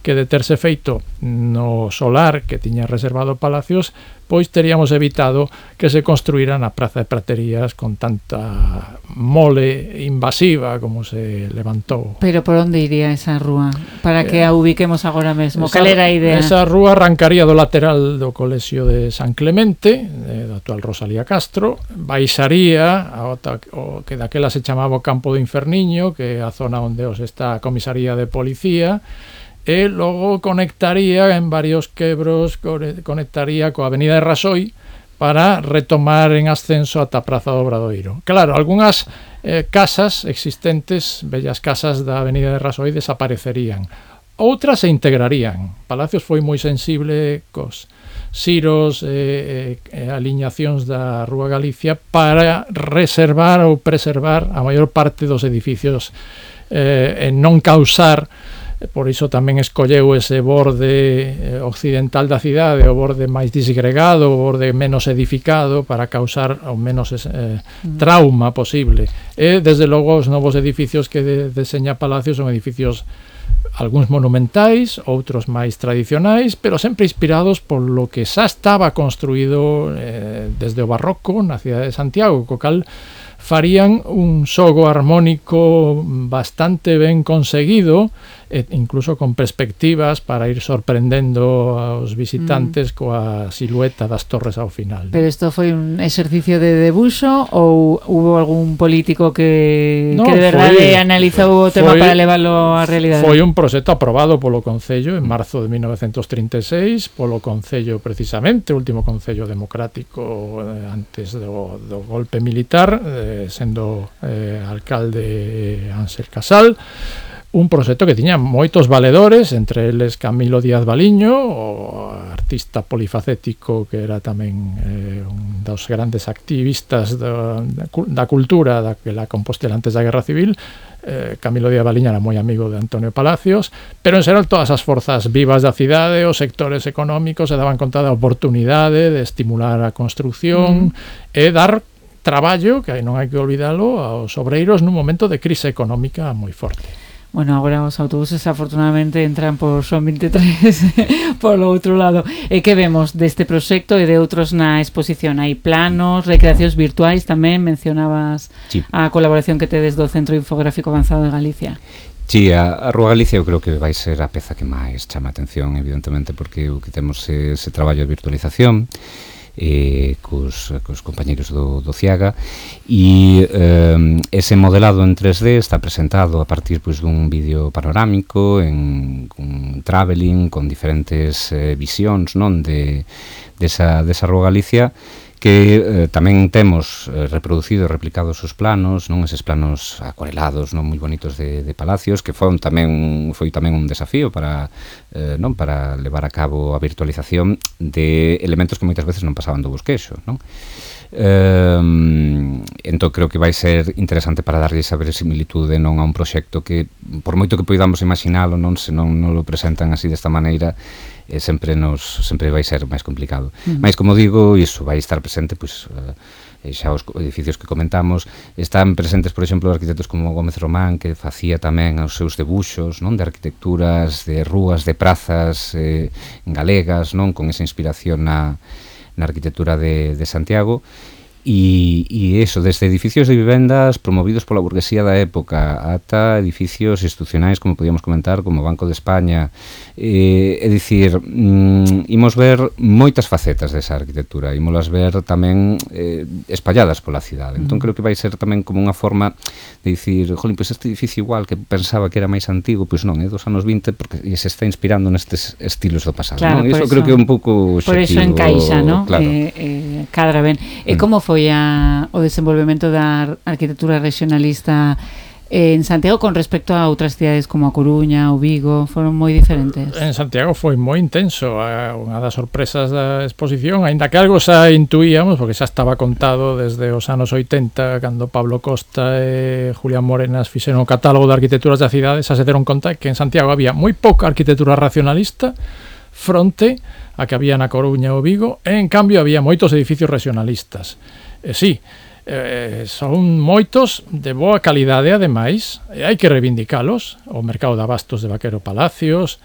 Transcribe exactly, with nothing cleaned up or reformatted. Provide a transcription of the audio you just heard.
que de terse feito no solar que tiña reservado Palacios, pois teríamos evitado que se construíra na Praza de Praterías con tanta mole invasiva como se levantou. Pero por onde iría esa rúa? Para que a ubiquemos agora mesmo. Cal era a idea? Esa rúa arrancaría do lateral do Colexio de San Clemente, do actual Rosalía Castro, baixaría ao, o que daquela se chamaba o Campo do Inferniño, que é a zona onde os está a comisaría de policía, e logo conectaría en varios quebros, conectaría coa Avenida de Rasoi para retomar en ascenso ata a Praza do Obradoiro. Claro, algunhas eh, casas existentes, bellas casas da Avenida de Rasoi, desaparecerían. Outras se integrarían. Palacios foi moi sensible cos siros e eh, eh, aliñacións da Rúa Galicia para reservar ou preservar a maior parte dos edificios eh, e non causar. Por iso tamén escolleu ese borde occidental da cidade, o borde máis disgregado, o borde menos edificado, para causar ao menos ese, eh, trauma posible. E, desde logo, os novos edificios que de, deseña Palacios son edificios algúns monumentais, outros máis tradicionais, pero sempre inspirados por lo que xa estaba construído eh, desde o barroco na cidade de Santiago, co cal farían un xogo armónico bastante ben conseguido, e incluso con perspectivas para ir sorprendendo aos visitantes mm. coa silueta das torres ao final. Pero isto foi un exercicio de debuxo ou hubo algún político que, no, que de verdade foi, analizou o tema foi, para leválo á realidade? Foi un proxecto aprobado polo Concello en marzo de mil novecientos trinta e seis, polo Concello precisamente, o último Concello democrático eh, antes do, do golpe militar, eh, sendo eh, alcalde Ángel Casal. Un proxecto que tiña moitos valedores, entre eles Camilo Díaz Baliño, o artista polifacético que era tamén eh, un dos grandes activistas da, da cultura daquela Compostela antes da Guerra Civil. eh, Camilo Díaz Baliño era moi amigo de Antonio Palacios, pero en xeral todas as forzas vivas da cidade, os sectores económicos se daban conta da oportunidade de estimular a construción mm. e dar traballo, que non hai que olvidalo, aos obreiros nun momento de crise económica moi forte. Bueno, agora os autobuses afortunadamente entran por Son veintitrés polo outro lado. E que vemos deste proxecto e de outros na exposición? Hai planos, recreacións virtuais tamén, mencionabas sí. a colaboración que tedes do Centro Infográfico Avanzado de Galicia. Sí, a, a Rúa Galicia eu creo que vai ser a peza que máis chama a atención, evidentemente, porque o que temos é ese traballo de virtualización eh, cos, cos compañeros do, do Ciaga, e eh, ese modelado en tres D está presentado a partir pois, dun vídeo panorámico en un traveling con diferentes eh, visións non de desa, desa Rúa Galicia, que eh, tamén temos eh, reproducido e replicado os seus planos, non eses planos acuarelados, non moi bonitos de, de Palacios, que foron tamén foi tamén un desafío para eh, non para levar a cabo a virtualización de elementos que moitas veces non pasaban do bosquexo, non? Eh, entón creo que vai ser interesante para darlle esa verosimilitude non a un proxecto que, por moito que poidamos imaginalo, non se non, non lo presentan así desta maneira, e sempre nos sempre vai ser máis complicado. Uh-huh. Mais como digo, iso vai estar presente pois eh, xa os edificios que comentamos, están presentes, por exemplo, arquitectos como Gómez Román, que facía tamén os seus debuxos, non, de arquitecturas, de rúas, de prazas eh, galegas, non, con esa inspiración na na arquitectura de, de Santiago. E, e eso, desde edificios de vivendas promovidos pola burguesía da época ata edificios institucionais, como podíamos comentar, como Banco de España. Eh, é dicir, mm, imos ver moitas facetas desa arquitectura, imos ver tamén eh, espalladas pola cidade. Entón creo que vai ser tamén como unha forma de dicir, jolín, pois este edificio igual que pensaba que era máis antigo, pois non, é dos anos vinte, porque se está inspirando nestes estilos do pasado, claro, non? E iso creo que é un pouco por iso encaixa, non? Claro. Eh, eh, cadra ben. E mm. como foi a, o desenvolvemento da arquitectura regionalista en Santiago con respecto a outras cidades como a Coruña ou Vigo? Foron moi diferentes? En Santiago foi moi intenso. Unha das sorpresas da exposición, aínda que algo xa intuíamos, porque xa estaba contado desde os anos oitenta, cando Pablo Costa e Julián Morenas fixeron o catálogo de arquitecturas da cidade, xa se deron conta que en Santiago había moi pouca arquitectura racionalista fronte a que había na Coruña ou Vigo, e en cambio había moitos edificios regionalistas. E sí, eh, son moitos de boa calidade, ademais, e hai que reivindicalos. O mercado de abastos de Vaquero Palacios,